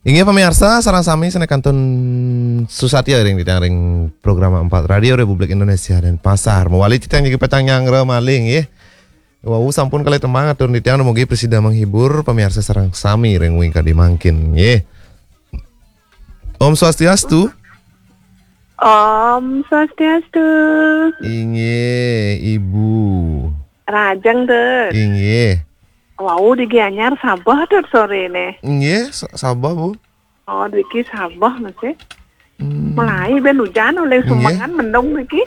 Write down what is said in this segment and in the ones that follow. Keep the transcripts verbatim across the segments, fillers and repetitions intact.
Inggih pamiarsa, sareng sami sané kantun susatia ring titiang ring program empat Radio Republik Indonesia Denpasar. Mawali titiang niki petang nyanggra malih nggih. Wau sampun kalih tembang atur titiang, dumugi prasida menghibur pamiarsa sareng sami ring wingkadi mangkin nggih. Om Swastiastu. Om Swastiastu. Inggih, Ibu. Rahajeng, Dut. Inggih. Wau di Gianyar sabeh, Dut, soréné. Inggih, sa- sabeh, Bu. Oh, driki sabeh masih. Hmm. Mulai ben hujan oleh Inggih. Semengan mendung driki.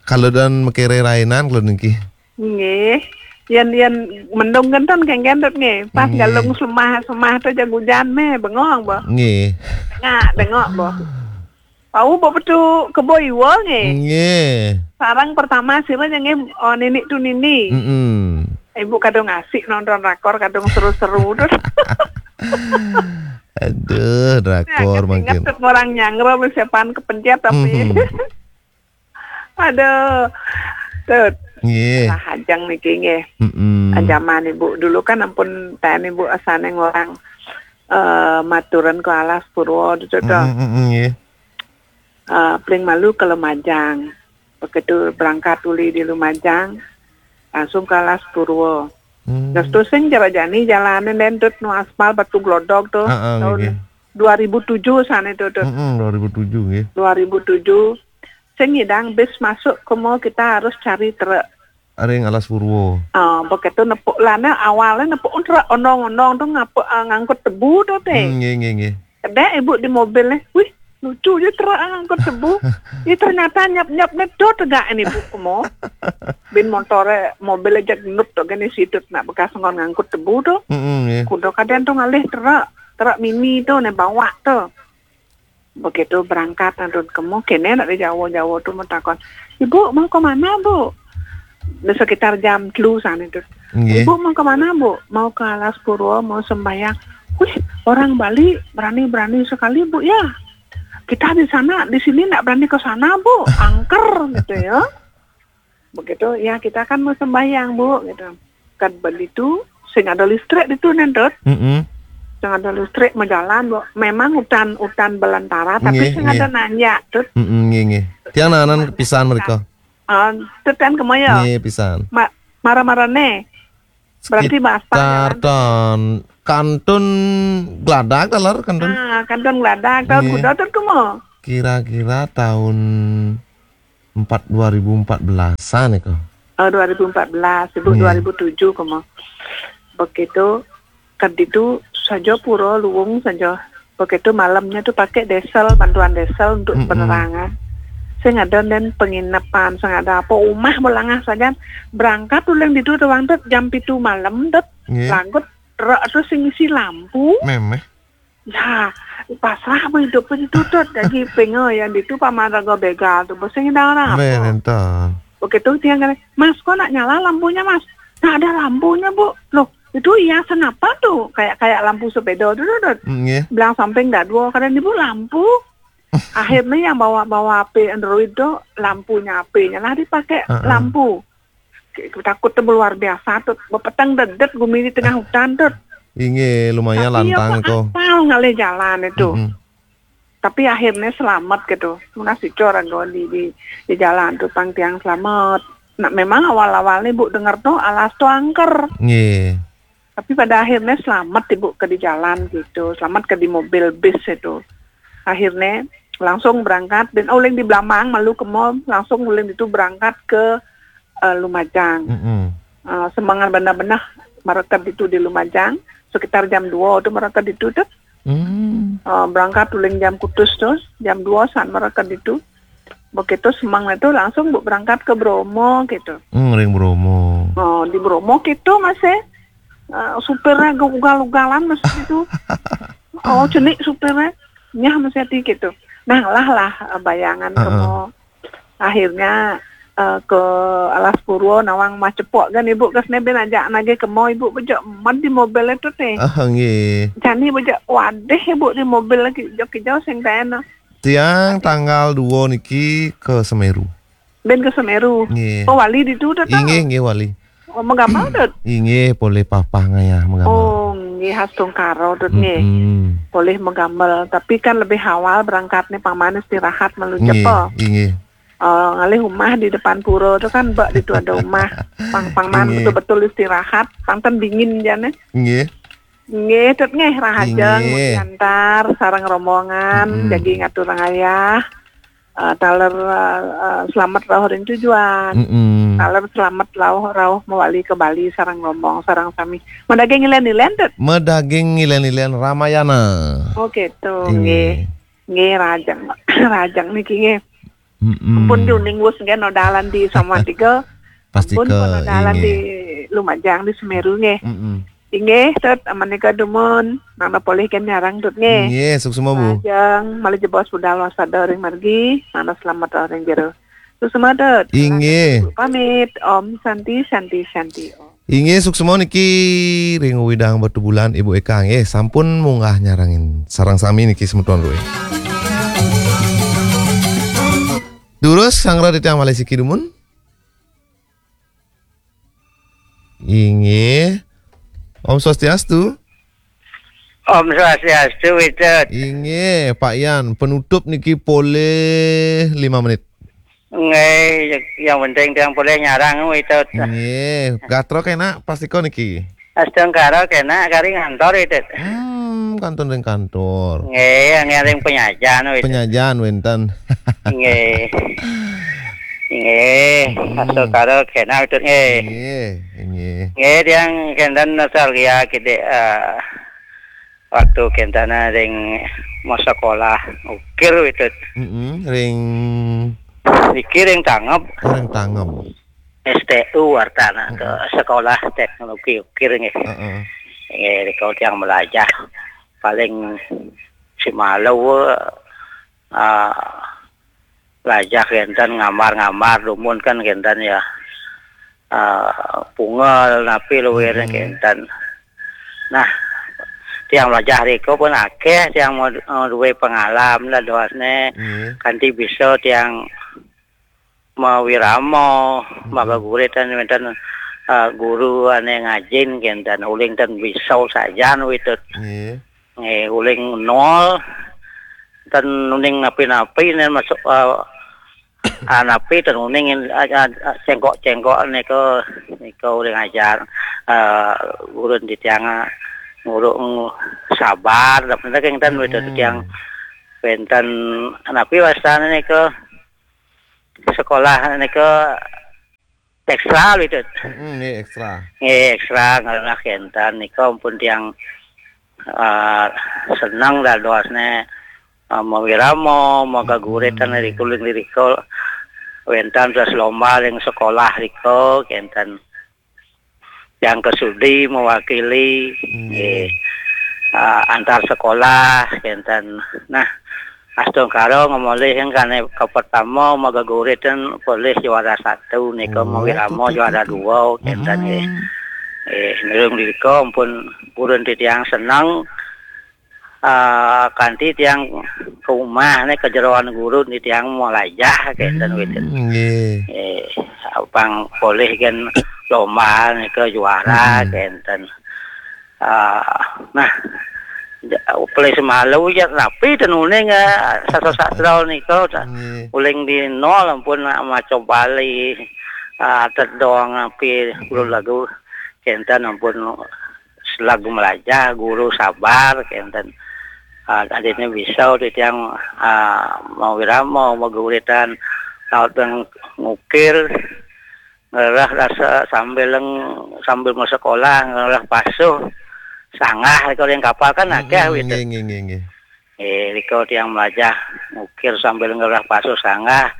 Kalau dan makiré rainan kalau niki. Nggih. Yén yén mendung kénten kéngkén, Dut, nggih. Pas Nggih. Galung semah-semah to jag hujan méh bengong, boh. Nggih. Dengak, dengak, boh. Wau, boh, petu kebo iwa nggih. Nggih. Sareng pertama sira nggih, oh, Nini tu Nini. Mm-mm. Ibu kadung asik nonton rakor, kadung seru-seru terus. Aduh, drakor Ingat mangkin. Ingat orang nyanggra mesti pan kepencet tapi. Mhm. Aduh. Tut. Nggih. Rahajeng niki nggih. Mm-mm. Zaman ibu dulu kan ampun taén ibu asané ngorang eh maturan ke Alas Purwa tu to. Mm-mm, mm-mm, nggih. Eh, paling malu ke Lumajang. Begitu berangkat uli di Lumajang, langsung ke Alas Purwa. Hmm. Terus tu sing cara jani jalané, Dut, nu aspal batu glodok tu. Heeh, tahun nggih. Dua ribu tujuh sané tu, Dut. Heeh, dua ribu tujuh nggih. Dua ribu tujuh. Sing nyidang bis masuk ke mall, kita harus cari truk. Ring Alas Purwa. Ah, begitu nepuk lana awalnya nepuk truk ondong-ondong tu ngapa, ah, ngangkut tebu tu téh. Hmm, nggih, nggih, nggih. Kedék ibu di mobil nih. Wih, lucu aja truk ngangkut tebu. Ih, ternyata nyap-nyap nih do tegak ini bu kemo. Bin motoré mobil aja genut to gini sidut nak bekas ngon ngangkut tebu tu. Mm-mm, nggih. Kuda kadén tu ngalih truk, truk mini tu nih bawa tu. Begitu berangkat antun kemo, kéné nak di Jawa-Jawa tu mau takon, "Ibu mau ke mana, Bu?" Di sekitar jam telu sana tu. Nggih. "Ibu mau ke mana, Bu?" "Mau ke Alas Purwa, mau sembahyang." "Wih, orang Bali berani-berani sekali, Bu, ya. Kita di sana, di sini ndak berani ke sana, Bu. Angker," gitu ya. Begitu, "Ya, kita kan mau sembahyang, Bu," gitu. Kan begitu, sing ada listrik itu, Nentut. Mm-mm. Sing ada listrik, mau jalan, Bu. Memang hutan, hutan belantara, tapi Nggih, sing nggih. Ada nanjak, Tut. Mm-mm, nggih, nggih. Tiang nanan kepisan mereka. Ah, Tut kan kemoyo. Nggih, pisan. Ma-, mara-mara né. Berarti bahasa Sekitar jalan. Tahun kantun gladak taler kantun. Ah, kantun gladak, tahun Nggih. Kuda, Tut, kemo. Kira-kira tahun empat, dua ribu empat belasan iko. Oh, dua ribu empat belas, ibu Nggih. Dua ribu tujuh kemo. Begitu, keditu saja pura luwung saja. Begitu malamnya tu pakai diesel, bantuan diesel untuk Mm-mm. Penerangan. Sing ada dan penginapan, sing ada apa, umah melangah saja. Berangkat uling ditu doang, Tut, jam pitu malam, Tut. Nggih. Lagut truk tu sing isi lampu. Memeh. Ya, pasrah apa hidup itu, Tut. Jadi pengen yang ditu paman raga begal tu, bosen dah orang apa. Beh, nenten. Begitu dia kata, "Mas, kok nak nyala lampunya, Mas?" "Nggak ada lampunya, Bu." "Loh, itu hiasan apa tuh?" Kayak, kayak lampu sepeda tu, Tut. Mm, nggih. Bilang samping dah dua, kadang ibu lampu. Akhirnya yang bawa, bawa H P Android tu, lampunya H P-nya lah dipakai Heeh. Lampu. Takut tu luar biasa, Tut. Bepeteng dedet gumi di tengah hutan, Tut. Inggih, lumayan Tapi ya lantang kok ko. Apal ngalih jalan itu. Mm-mm. Tapi akhirnya selamat gitu. Munas dicor anggo di, di, di jalan tu pang tiang selamat. Nah, memang awal-awalnya Bu dengar tu alas tu angker. Nggih. Tapi pada akhirnya selamat ibu ke di jalan gitu. Selamat ke di mobil bis itu. Akhirnya langsung berangkat dan uling di Blamang malu ke mall, langsung uling itu berangkat ke eh, Lumajang. Mm-mm. Eh, semangat benar-benar mereka itu di Lumajang sekitar jam dua tu mereka itu tu. Hmm. Eh, berangkat uling jam kutus tu, jam dua san mereka itu. Begitu semang itu langsung bu berangkat ke Bromo gitu. Hmm, ring Bromo. Oh, di Bromo gitu masih eh, supirnya ugal-ugalan masih itu. Oh, cenik supirnya. Nyah masih hati gitu. Nah, lah lah eh, bayangan Heeh. Kemo. Akhirnya eh, ke Alas Purwo nawang macepok kan ibu ke sini ben ajak nagih kemo ibu bejak mat di mobil itu teh. Ah, nggih. Jani bejak wadih ibu di mobil lagi jauh-jauh sing taena. Tiang tanggal dua niki ke Semeru. Ben ke Semeru. Nggih. Oh, wali di tu dah. Inggih, nggih wali. Oh, megamal dah. Inggih, polih papah ngayah megamal. Oh, Nggih, astungkara, Tut, nggih. Mm-mm. Polih magamel, tapi kan lebih awal berangkat nih, pang manis istirahat malu. Nggih, cepo. Inggih. Eh, ngalih umah di depan pura tu kan, bek ditu ada umah. Pang, pang man. Inggih. Betul-betul istirahat, pang ten dingin jane. Nggih. Nggih, Tut, nggih, rahajeng. Inggih. Diantar sareng rombongan, mm-mm, jagi ngatur ngayah. Eh, taler, eh, eh, selamat rauh ring tujuan. Mm-mm. Taler selamat rauh, rauh mawali ke Bali sareng rombong, sareng sami. Madaging ilen-ilen, Tut? Madaging ilen-ilen Ramayana. Oh, gitu, inggih. Nggih. Nggih, rahajeng. Rahajeng niki, nggih. Mm-mm. Ampun, di uning wus, nggih, nodalan di Samuan Tiga. Pasti. Ampun, ke, nodalan, inggih, di Lumajang, di Semeru, nggih. Mm-mm. Inggih, Tut, menika dumun, mangda polih ken nyarang, Tut, nggih. Inggih, suksma, Bu. Lajeng, malih jebos budal waspada ring margi, mangda slamet ring jero. Suksma, Tut. Inggih. Pamit, Om Santi, Santi, Santi, Om. Inggih, suksma niki ring Widang Batubulan, Ibu Eka, nggih, sampun munggah nyarengin sareng sami niki semeton duwe. Durus, sanggra titiang malih siki dumun. Inggih. Om Swastiastu. Om Swastiastu, Widut. Inggih, Pak Yan, penutup niki polih lima menit. Nggih, yang penting tiang polih nyarang, Widut. Nggih, gatra kenak pastika niki. Astungkara kenak kari ngantor, Widut. Hmm, kantun ring kantor. Nggih, ngiring penyajan, Widut. Penyajan wenten. Nggih. Nggih, hmm, astungkara kenak, Widut, nggih. Nggih, nggih. Nggih, tiang kenten nostalgia kidik, eh, waktu kenten ring masekolah Ukir, Widut. Mm-mm, ring? Niki ring Tangeb. Oh, ring Tangeb. S T U wartana, ke, mm-mm, Sekolah Teknologi Ukir, nggih. Heeh. Nggih, rika tiang melajah. Paling si malu, eh, lajah kenten, ngambar-ngambar, dumun kan kenten ya. Eh, pungel, napi luwirne, mm-mm, kenten. Nah, tiang melajah rika pun akeh, tiang mau, mau duwe pengalaman lah dosne. Nggih. Kanti bisa tiang mawirama, mm-mm, magaguritan wenten, eh, guru ane ngajin kenten, uling ten bisa sajan, Widut. Nggih. Nggih, uling nol, ten uning napi-napi, nen masuk, eh, ah, napi ten uning, ah, ah, ah, cengkok-cengkok nika, nika uling ajar, eh, guru titiang, eh, nguru, ng-, sabar, dak bener kenten, mm-mm, Widut, tiang wenten napi wastane nika sekolah nika ekstra, Widut. Mm-mm, nggih, ekstra. Nggih, ekstra, ngelah kenten. Nika ampun tiang, eh, seneng dadosne, eh, mawirama, magaguritan, mm-mm, ring uling rika. Wenten terus lomba ring sekolah rika, kenten. Yang kesudi mewakili, hmm, nggih, ah, antar sekolah, kenten. Nah, astungkara ngemolih yang kane kepertama, magaguritan polih juara satu, nika, oh, mawirama tuh, tuh, juara tuh, tuh, dua, kenten, nggih. Hmm. Eh, nurung dirika ampun purun titiang seneng, ah, kanti tiang ke umah ne, ke jeroan guru ni tiang melajah, kenten, hmm, Widut. Nggih. Eh, pang polih kan lomba nika juara, hmm, kenten. Ah, nah, ja-, polih semalu ya, napi ten uning, eh, sastra-sastra nika, ta-, nggih, uling di nol ampun, ah, maca Bali, ah, tedong, napi, hmm, lagu, kenten ampun. Selagu melajah, guru sabar, kenten. Ah, adine bisa titiang, ah, mawirama, maguritan, laut yang ngukir, ngerah rasa sambil leng-, sambil mau sekolah, ngerah pasuh, sanggah, kalau yang kapal kan, hmm, akeh, hmm, gitu. Nggih, nggih, nggih, nggih. Eh, rika tiang melajah ngukir sambil ngerah pasuh sanggah,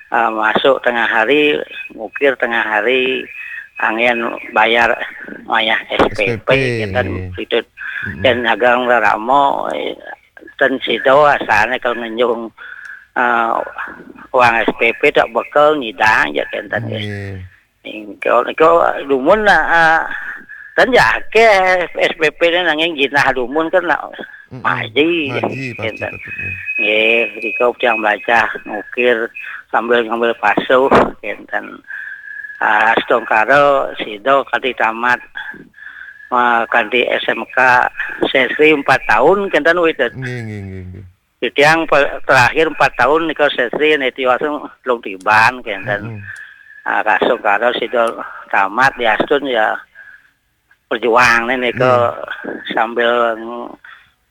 eh, masuk tengah hari, ngukir tengah hari, angin bayar wayah S P P, S P P, kenten, nggih. Itu. Mm-mm. Dan dagang rerama, eh, ten sida asane kalau ngenjung, eh, uang S P P tak bekel nyidang ya kenten, nggih. Nggih. Engko, engko dumun, ah, kan ya akeh S P P ne, nanging jinah dumun kan nak, mm-mm, maji, maji pasti, kenten. Tetep, nggih. Nggih, rika tiang melajah ngukir sambil ngambil pasuh, kenten. Ah, astungkara sida kadi tamat Ah, kanti S M K sesri empat tahun kenten Witet. Nggih, nggih, nggih, nggih. Titiang pe-, terakhir empat tahun nika sesri, niki langsung telung tiban kenten. Mm-mm. Ah, kasung karo sida tamat diastun ya perjuang nika. Nggih. Sambil,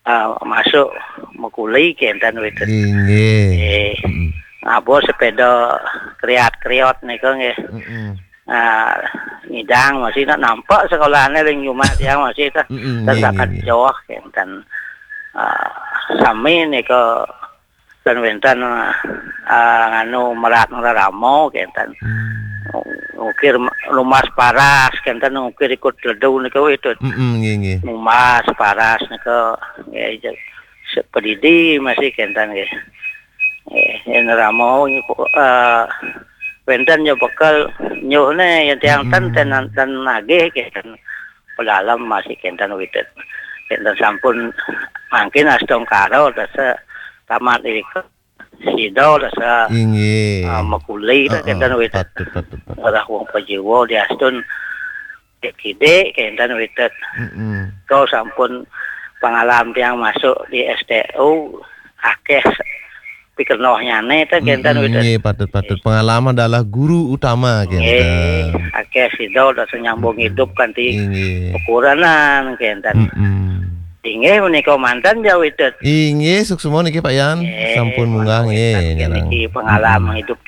ah, masuk mekuli kenten Witet. Nggih, nggih. Nggih. Mm-mm. Ngabur sepeda kriat-kriot nika nggih. Mm-mm. Ah, ngidang masih nak nampak sekolahnya ring rumah tiang masih tah. Mm-mm, nggih, nggih, nggih. Jauh kenten. Ah, sami nika ten wenten, ah, nganu merat reramo kenten. Hmm. Ngukir lumas paras kenten, ngukir ikut ledu nika Witet. Mm-mm, nggih, nggih. Lumas paras nika nggih, je-, se-, pedidi masih kenten nggih. Eh, yen ramo, eh, wenten ya bekel nyuhne, yen tiang ten, mm-mm, ten, ten nagih kenten. Pedalem masih kenten Witet. Kenten sampun mangkin astungkara dasa tamat irika sida dasa, inggih, ah, mekuli ta, heeh, kenten Witet. Patut, patut, patut. Ora wong pajiwa diastun kidik kenten Witet. Mm-mm. Kau sampun pengalaman tiang masuk di S T U akeh pikenohnyane ta kenten Witet. Mm-mm, nggih, patut, patut. Pengalaman adalah guru utama, nggih, kenten. Akeh sida dasa nyambung, mm-mm, hidup kanti, nggih, ukuran kenten. Mm-mm. Inggih menika manten ya Witet. Inggih, suksma niki Pak Yan. Nggih, sampun munggah, nggih, nggih, nggih, niki pengalaman, mm-mm, hidup.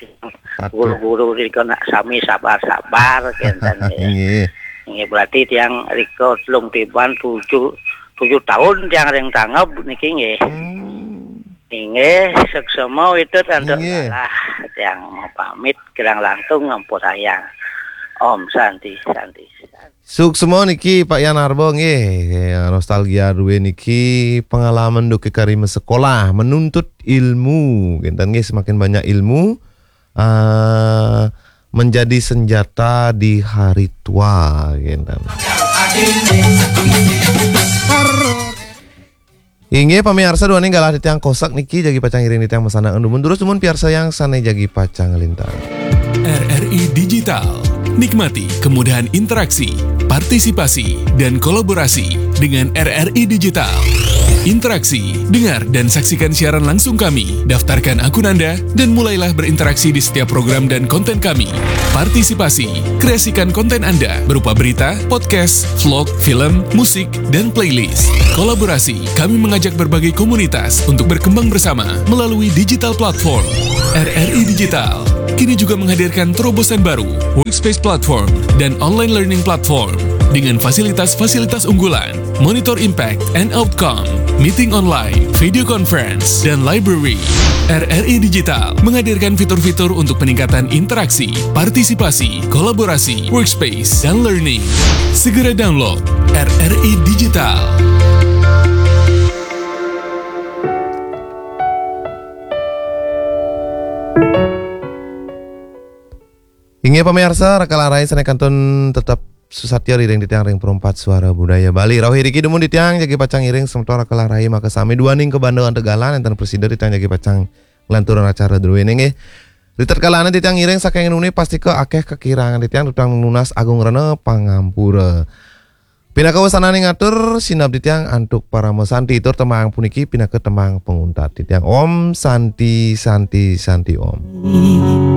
Patut. Guru-guru rika nak sami sabar-sabar kenten nggih. Nggih. Nggih, berarti tiang rika telung tiban tujuh, tujuh tahun tiang ring tanggap niki nggih. Hmm. Inggih, suksma Witet antuk, nggih, dalah tiang pamit kirang langkung ngampurayang. Om Santi, Santi. Suksma niki Pak Yan Arbo nggih. Ya, nostalgia duwe niki pengalaman duke kari sekolah, menuntut ilmu. Kenten nggih, semakin banyak ilmu, eh, menjadi senjata di hari tua, kenten. Inggih, pamiarsa, duaning galah titiang Kosak niki jagi pacang ngiring titiang masandekan dumun. Terus dumun piarsa yang sane jagi pacang nglintang. R R I Digital. Nikmati kemudahan interaksi, partisipasi, dan kolaborasi dengan R R I Digital. Interaksi, dengar dan saksikan siaran langsung kami, daftarkan akun Anda, dan mulailah berinteraksi di setiap program dan konten kami. Partisipasi, kreasikan konten Anda berupa berita, podcast, vlog, film, musik, dan playlist. Kolaborasi, kami mengajak berbagai komunitas untuk berkembang bersama melalui digital platform. R R I Digital kini juga menghadirkan terobosan baru, Workspace Platform dan Online Learning Platform, dengan fasilitas-fasilitas unggulan, monitor impact and outcome, meeting online, video conference, dan library. R R I Digital menghadirkan fitur-fitur untuk peningkatan interaksi, partisipasi, kolaborasi, workspace, dan learning. Segera download R R I Digital. Inggih pamiarsa, raka lan rai sane kantun tetep susatya ring titiang ring Perempat Suara Budaya Bali. Rauh iriki dumun titiang jagi pacang ngiring semeton raka lan rai makasami duaning kabanda antuk galah, enten prasida titiang jagi pacang nglanturang acara druene nggih. Ritatkala titiang ngiring saking dumun pastika akeh kakirangan titiang, titiang nunas agung rena pangampura. Pinaka wesananing atur, sineb titiang antuk parama santi, tur tembang puniki pinaka tembang panguntat titiang. Om Santi, Santi, Santi Om.